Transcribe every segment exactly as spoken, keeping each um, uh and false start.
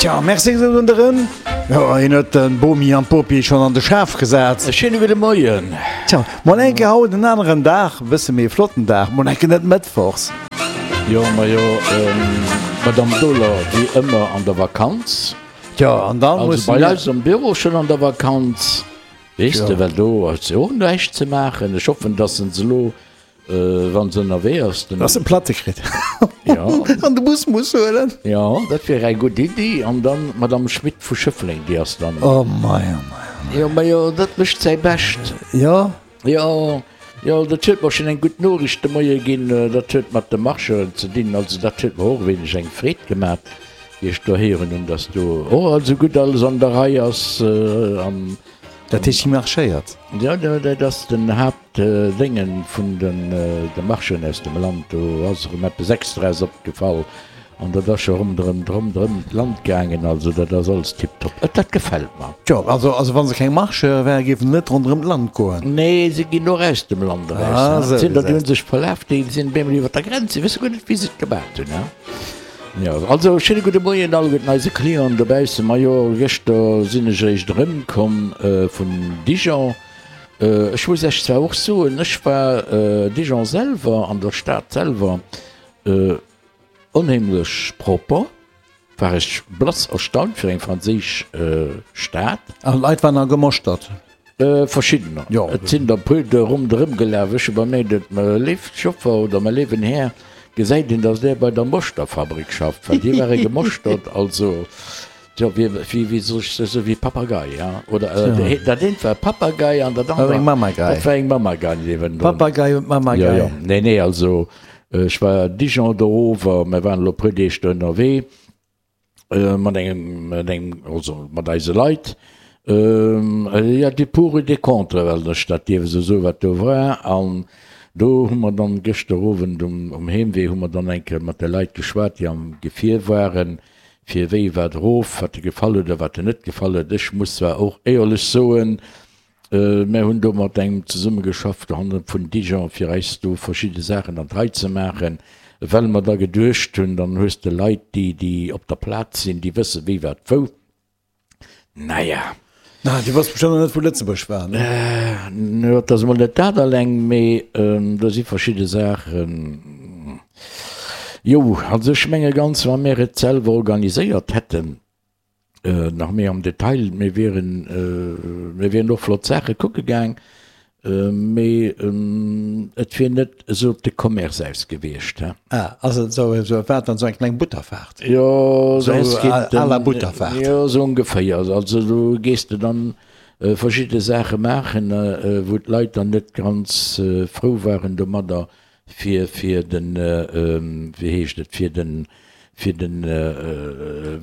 Tja, merci gesot un de Ren. Jo, hien huet den Bomi an d'Bopi schonn an de Schaf gesat. E schéine gudde Moien. Tja, mol eng Kéier haut en aneren Dag, e bësse méi e flotten Dag, mol eng Kéier net mëttwochs. Jo, majo, d'Madame Dohler wéi ëmmer an der Vakanz. Tja, an da Also musse bei mir. eis am Büro schonn an der Vakanz, weess de, well do ass jo och näischt ze maachen. Ech hoffen, dass se elo Wann se ënnerwee ass, den. Dass en Platte kritt Jo. an de Bus muss huelen. Jo, dat wier eng gutt Iddi. An dann d'Madame Schmit vu Schëffleng, déi ass dann. Oh mei, oh mei, oh mei. Jo, majo, dat mécht säi Bescht. Jo. Jo, jo, dat huet mer schonn eng gutt Noriicht de Moie ginn. Dat huet mat de Marcheuren ze dinn. Also dat huet mer och e wéineg eng Freed gemat, wéi ech do héieren hunn, dass do och also gutt alles an der Rei ass an. Dat heescht, si marschéiert? Jo, dat ass den Haaptdéngen vun de Marchen aus dem Land. Do ass erëm eppes Extraes opgefall an dat ass scho ronderëm ronderëm d'Land gaangen. Also dat ass alles tiptop. Dat gefält mer. Jo, also also wa se keng Marcheure wären, géifen se net ronderëm d'Land goen. Nee, se ginn och aus dem Land eraus. Et sinn der, déi hu sech verlaf, déi sinn op eemol iwwer der Grenz. Si wësse guer net, wéi se et gemat hunn. Jo, also schéine gudde Moien alleguerten eise Clienten dobaussen. Majo, gëschter sinn ech eréischt erëmkomm vun Dijon. Ech muss Iech zwar och soen, ech war Dijon selwer, an der Stad selwer, onheemlech propper. War ech blass erstaunt fir eng franséisch Stad. An d'Leit waren gemoschtert? Verschiddener. Jo. Et sinn der e puer do ronderëm gelaf. Ech hu bemerkt, et mä léif Joffer oder mä léiwen Här, gesäit een, dass där bei der Moschterfabrik schafft, well déi ware gemoschtert, also, jo, wéi, wéi, wéi soll ech soen, wéi Papagei, ja, oder dat eent war e Papagei an dat Dat war eng anert, Mamagei. dat war eng Mamagei niewendrun. Papagei und Mamagei. Jo, jo. Nee, nee, also ech war Dijon do erover, mir waren elo e puer Deeg do ënnerwee. Mat engem, mat engem, also mat eise Leit, jo, des pour et des contre, well ech dat dierf esou soen, wat do war. An do hu mer dann gëschter Owend um, um Heemwee hu mer dann eng Kéier mat de Leit geschwat, déi am Gefier waren, fir wéi wat erof, wat de gefall huet a wat de net gefall huet. Ech muss zwar och éierlech soen, Mär hunn do mat engem zesummegeschafft hanne vun Dijon, fir eis do verschidde Saachen an d'Rei ze maachen, well mer da geduecht hunn, dann hues de Leit, déi, déi op der Plaz sinn, déi wësse wéi wat wou. Naja. Na, déi wosste bestëmmt nach net, wou Lëtzebuerg war, ne? Jo, et ass emol net dat alleng, mee do si verschidde Saachen, jo, also ech menge ganz, wa mär et selwer organiséiert hätten, Nach méi am Detail, mir wieren, mir wieren och flott Saache kucke gaang, mee et wier net esou op de Commerce aus gewiescht, he. Ah, ass et esou, esou, war et dann esou eng kleng Butterfaart? Jo, Esou es geet à la Butterfaart. Jo, esou ongeféier. Also do gees de dann verschidde Saache maachen, wou d'Leit dann net ganz frou waren domadder, fir, fir den, wéi heescht et, fir den, fir den,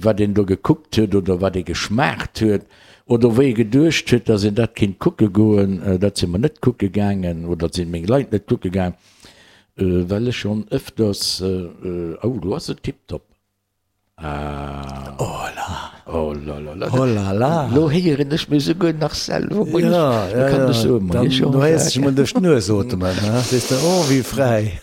wat een do gekuckt huet oder wat ee geschmaacht huet oder wou ee geduecht huet, datt een dat kéint kucke goen, dat si mer net kucke gaangen oder dat si meng Leit net kucke gaang, well ech schonn ëfters, oh do ass et tiptop. Ah. Oh la. Oh la la la. Oh la la. Lo héieren ech mech souguer nach selwer. Moien. Ja, ja, Da kann ech soen, Dann, Moien du héiers dech Jean-Jacques. emol duerch d'Nues otemen, he? Sees de, oh wéi fräi.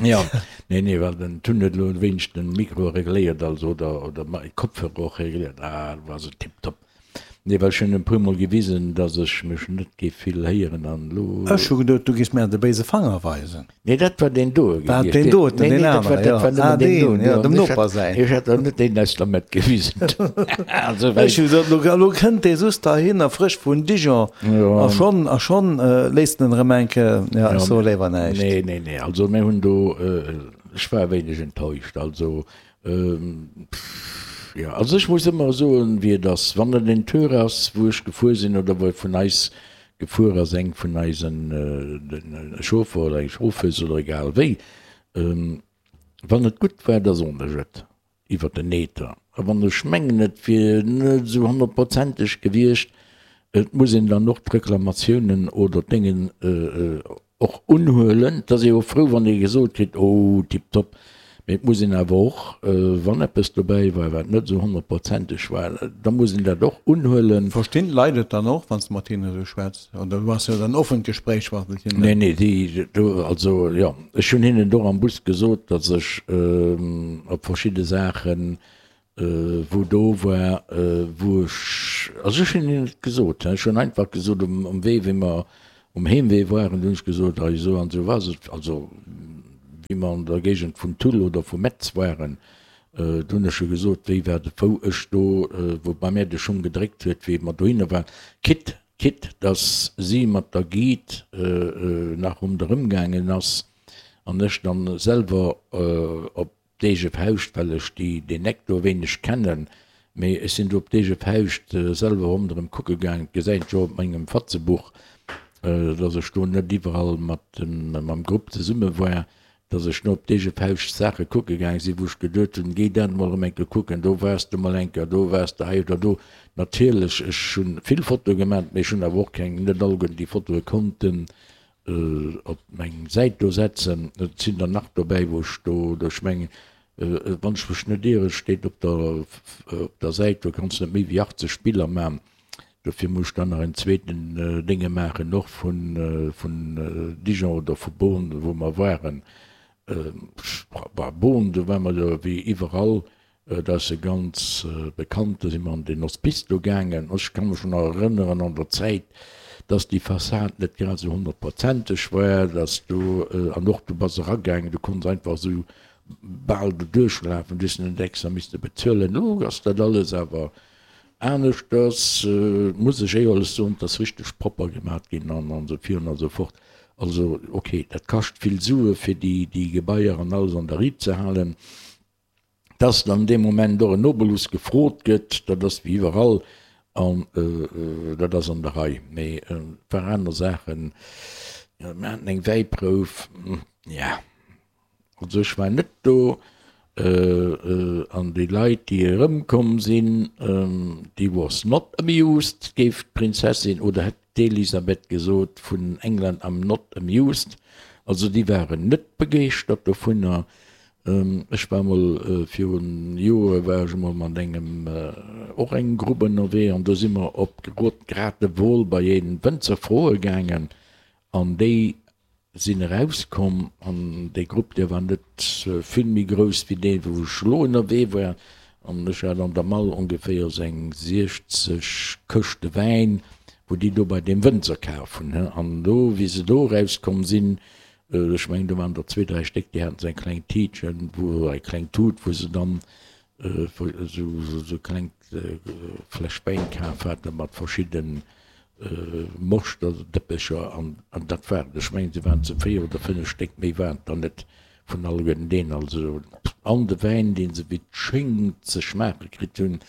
Ja, nee, nee, well den Tun huet elo e wéineg den Mikro regléiert, also, oder, oder mäi Kopfhörer och regléiert. Ah, do ass et tiptop. Nee, well ech hunn e puer mol gewisen, dass ech mech net géif vill héieren an elo. Ech hu geduet, du géifs mir de béise Fanger weisen. Nee, dat war deen do War gewiescht. deen doten, Nee, deen nee, dat war, anere, dat jo. war Ah, nëmmen deen deen, do, jo, jo. dem Ech Noper hat, säin. ech hat der net deen aus der Mëtt gewisen. Also, well. Ech hu gesot, elo, elo kënnt dee soss heihinner, frësch vun Dijon, Jo. a schonn, a schonn léisst en erëm eng Kéier, jo, ech soe léiwer näischt. Nee, nee, nee, also mir hunn do, ech war e wéineg enttäuscht, also. Jo, also ech muss ëmmer soen, wéi et ass. Wann et en Tour ass, wou ech gefuer sinn oder wou e vun eis gefuer ass, eng vun eisen, e Chauffer oder eng Chauffeuse oder egal wéi, wann et gutt war, da soen ech et iwwer den Ether. A wann ech mengen, et wier net esou honnertprozenteg gewiescht, et muss een dann och d'Reklamatiounen oder d'Déngen och unhuelen. Et ass ee jo frou, wann ee gesot kritt, oh tiptop. Mee et muss een awer och, wann eppes dobäi war, wat net esou honnertprozenteg war, da muss een dat och unhuelen. Verstinn d'Leit et dann och, wann s de mat hinnen esou schwätz? Oder du has jo dann offent Gespréich mat hinnen? Nee, nee, déi do, also jo, ech hunn hinnen och am Bus gesot, datt ech op verschidde Saachen wou do war, wou ech, also ech hunn hinnen et gesot, ech hunn einfach gesot um um Wee, wéi mer um Heemwee waren, hunn ech gesot, hei esou an esou war et, also wéi mer an der Géigend vun Tulle oder vu Metz waren, do hunn ech jo gesot, wéi war de, wou ech do, wou bei mär de Schung gedréckt huet, wéi mer dohinner waren, quitte, quitte dass si mat der Guide nach ronderëm gaangen ass an ech dann selwer op d'eege Fauscht, well ech déi deen Eck do e wéineg kennen, mee ech sinn do op d'eege Fauscht selwer ronderëm kucke gaangen. Et gesäit jo op mengem Fatzebuch, dass ech do net iwwerall mat dem mam Grupp zesumme war, dass ech no op d'eege Fauscht Saache kucke gaange sinn, wou ech geduet hunn, géi dat emol erëm eng Kéier kucken, do waars de mol eng Kéier, do waars de hei oder do. Natierlech, ech hu vill Fotoe gemat, mee ech hunn awer och keng, net alleguerten déi Fotoe konnten op meng Säit do setzen. Et sinn der nach dobäi, wou ech do, ech mengen, wann ech mech net ieren, steet op der op der Säit, do kanns de net méi wéi achtzeg Biller man. Dofir muss ech dann nach en zweeten Dénge maachen, och vun vun Dijon oder vu Beaune, wou mer waren. Bah, Beaune, do ware mer jo wéi iwwerall. Dat ass e ganz bekannt, do si mer an den Hospice do gaangen. Ech ka mech nach erënneren an der Zäit, dass déi Fassad net grad esou honnertprozenteg war, dass do, an och du bass eragaangen, du konns einfach esou bal do duerchlafen, du hues net extra misste bezuelen. Elo ass dat alles awer aneschters, muss ech éierlech soen, et ass richteg propper gemat ginn an esou virun a sou fort. Also ok, dat kascht vill Sue fir déi Gebaier an alles an der Riit ze halen. Dass dann dee Moment och en Obolus gefrot gëtt, dat ass wéi iwwerall an dat ass an der Rei. Mee e paar aner Saachen, mir haten eng Wäiprouf, ja, also ech war net do an déi Leit, déi erëmkomm sinn, déi was not amused, géif d'Prinzessin oder hätt d'Elisabeth gesot vun England, I'm not amused. Also déi waren net begeeschtert dovunner. Ech war mol virun Joere war ech emol mat engem, och engem Grupp ënnerwee an do si mer op Gratewol bei ee Wënzer froe gaangen an déi sinn erauskomm an dee Grupp dee war net vill méi grouss wéi dee wou ech elo ënnerwee war an ech hat an der Mall ongeféier sou eng siechzeg Këschte Wäin wou déi do bei deem Wënzer kaf hunn an do wéi se do erauskomm sinn, Ech mengen, do waren der zwee, dräi Stéck, déi haten esou eng kleng Tiitchen, wou, eng kleng Tut, wou se dann esou esou kleng Fläsch Wäin kaf hate mat verschidde Moschterdëppecher an dat war et. Ech mengen, se waren zu véier oder fënnef Stéck, méi waren et der net vun alleguerten deenen. Also, an de Wäin, dee se wéi d'Schéngt ze schmaache kritt hunn,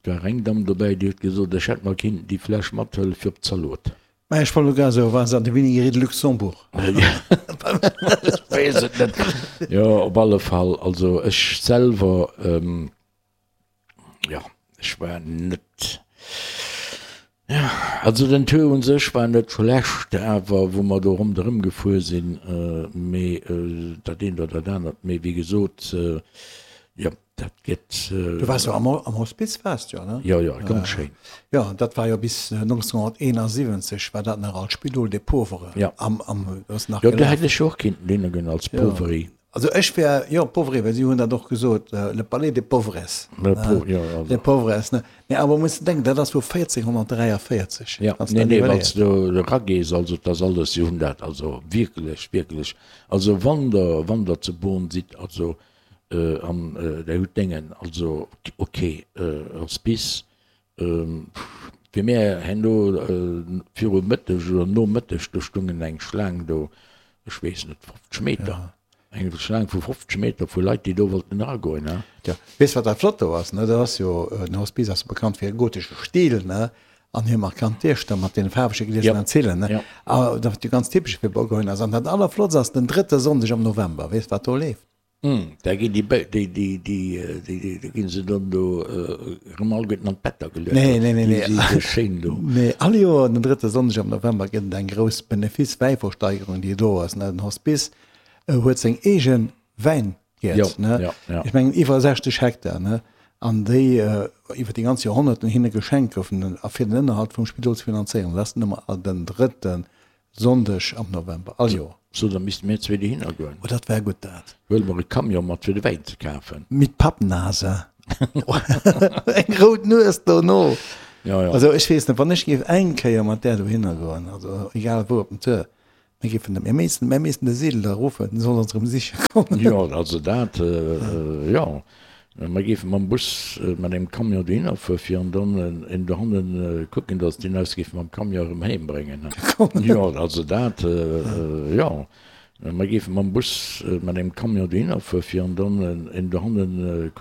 do war eng Damm dobäi, déi huet gesot, ech hätt mer kinnten déi Fläsch mathëlle fir op d'Zalot. Mä ech wollt elo grad soen, war se an der Vinaigrette de Luxembourg? Ech weess et net. Jo, op alle Fall, also ech selwer, jo, ech war net, jo, also den Tour u sech war net schlecht, awer wou mer do ronderëm gefuer sinn, mee dat eent oder dat anert, mee wéi gesot, jo. Dat gëtt. Du waars jo am am Hospiz waars de jo, ne? Jo, jo, ganz schéin. Jo, dat war jo bis nonzénhunnerteenasiwwenzeg war dat nach als Spidol des Pauvres. Jo. Am am ass nach Jo, do hätt ech jo och kinnten hinne goen als Pauvri. Also ech wär, jo, Pauvri, well si hunn dat och gesot, le Palais des Pauvres. Le Pau, jo, also. Des Pauvres, ne? Mee awer muss de denken, dat ass vu véierzénhunnertdräiavéierzeg. Jo, nee, nee, wann s de do eragees, also 't ass alles, si hunn dat also wierklech, wierklech, also wann der, wann der zu Beaune sidd, also An där hutt Déngen, also ok, Hospice, fir mär herno viru Mëtteg oder no Mëtteg, do stungen eng Schlaang do, ech weess net, fofzeg Meter, eng Schlaang vu fofzeg Meter vu Leit, déi do wollten eragoen, ne. Jo, weess wat dat flott do ass, ne, dat ass jo, den Hospice ass jo bekannt fir e gotesche Stil, ne, an hir markant Diechter mat deene faarwege Glieser an Zillen, ne, a dat jo ganz typesch fir Bourgogne ass. An dat allerflottst ass den drëtte Sonndeg am November, weess wat do leeft? Da ginn déi, déi, déi, déi, déi, da ginn se dann do erëm alleguerten an d'Better geluecht. Nee, nee, nee, nee. Déi si sou schéin do. Nee, all Joer den drëtte Sonndeg am November gëtt et eng grouss Benefice-Wäiversteigerung, déi do ass. Den Hospice huet seng eege Wäingäert, ne? Jo, jo, jo. Ech mengen iwwer sechzeg Hektar, ne? An déi iwwer déi ganz Joerhonnerten hinne geschenkt goufen, a fir den Ënnerhalt vum Spidol ze finanzéieren. Dat ass den ëmmer den drëtte Sonndeg am November, all Joer. So, da misste mir zwee dohinner goen. Oh, dat wär gutt, dat. Huele mer e Camion mat fir de Wäin ze kafen. Mit Pappnase. Eng rout Nues dono. Ja, ja. Also ech weess net, wann ech géif eng Kéier mat där dohinner goen, also egal wou op den Tour, mir géifen de, mir missten, mir missten de Seedeler ruffen, den soll ons erëm siche kommen. Jo, also dat, jo. Mer géife mam Bus, mat engem Camion dohinner fuere fir an dann een dohannen kucken, datt deen eis géif mam Camion erëm heem bréngen. Jo, also dat, jo. Mer géife mam Bus, mat engem Camion dohinner fuere fir an dann een dohannen kucken,